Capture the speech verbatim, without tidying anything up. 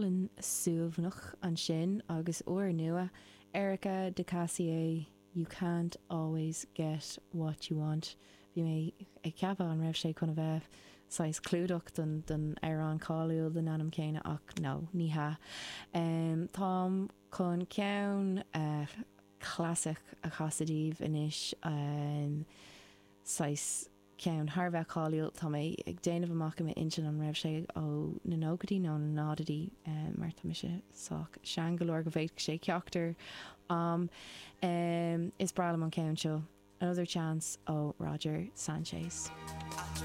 Álainn suaimhneach ansin agus úrnua Erika de Casier You can't always get what you want. Bhí mé ag ceapadh an raibh sé chun a bheith saghas clúdach don don amhrán cáiliúil den ainm céanna ach no ní hea. Um, Táim chun ceann uh, clasach a chasadh daoibh anois um, saghas ceann thar a bheith cáiliúil tá mé ag déanamh amach i m'intinn an raibh sé ó na nóchaidí nó na náididí um, mar tá mise sách sean go leor go bhféadfadh sé ceachtar am um, is breá liom an ceann seo. Another chance ó Roger Sanchez.